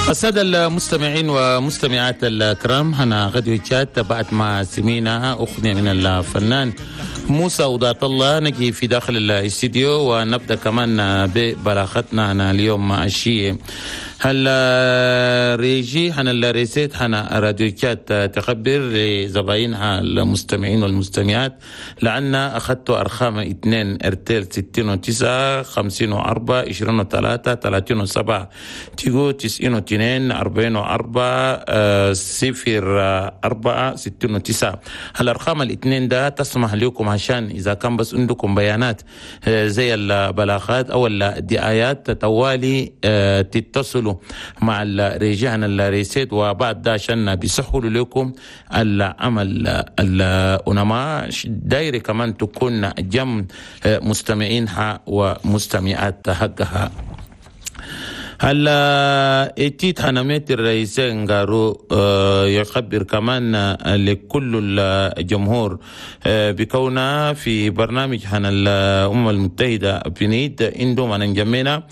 السادة المستمعين ومستمعات الكرام، هنا راديو تشاد، بعد ما سمينا أغنية من الفنان موسى وضات الله، نجي في داخل الاستديو ونبدأ كمان ببلاغتنا هنا اليوم الشيء. هلا régie هنا ال recette هنا راديو تشاد تخبر لزباينها المستمعين والمستمعات لأن أخذت أرقام 2 ارتيل 69 54 23 37 تيجو 92 44 0 4 69. الأرقام الاثنين ده تسمح لكم عشان إذا كان بس عندكم بيانات زي البلاغات أو الدعايات، طوالي تتصلوا مع ال régie هنا ال recette، وبعد ده عشان بيسهلوا لكم العمل. الأنماء دايرة كمان تكون جم مستمعينها ومستمعات حقها. هلا اتيت حنميت الرئيس غارو يخبر كمان لكل الجمهور بكونها في برنامج حنا الأمم المتحدة بنيد عندهم أنا جمينا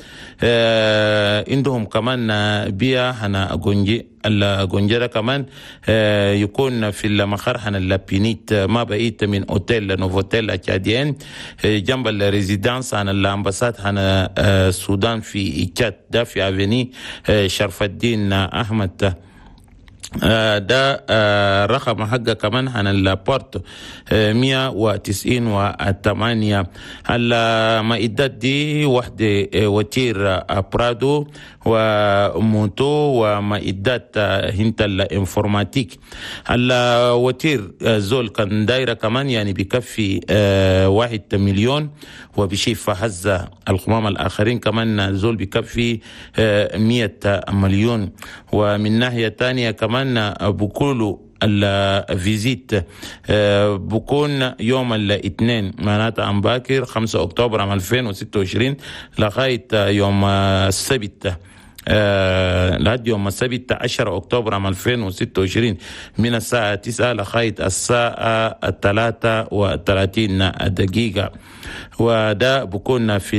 عندهم كمان بيا حنا جونجي الجونجرة كمان يكون في المخر حنا اللابينيت، ما بعيد من hôtel Novotel tchadien، جنب ال résidence حنا ال ambassade حنا السودان في تشاد، ده في avenue شرف الدين احمد. ده رقم حقه كمان عن ال porte 198. المعدات دي وحدة voiture Prado و moto ومعدات هنت ال informatique. ال voiture زول كان دايرة كمان يعني بيكفي 1 مليون وبشيف هزة القمام الآخرين، كمان زول بيكفي 100 مليون. ومن ناحية تانية كمان بقولوا ال visite بكون يوم الاثنين، معناتها أمباكر 5 أكتوبر عام 2026، لغاية يوم السبت، لحد يوم السبت 10 أكتوبر عام 2026 من الساعة 9 لغاية الساعة 33 دقيقة، وده بكون في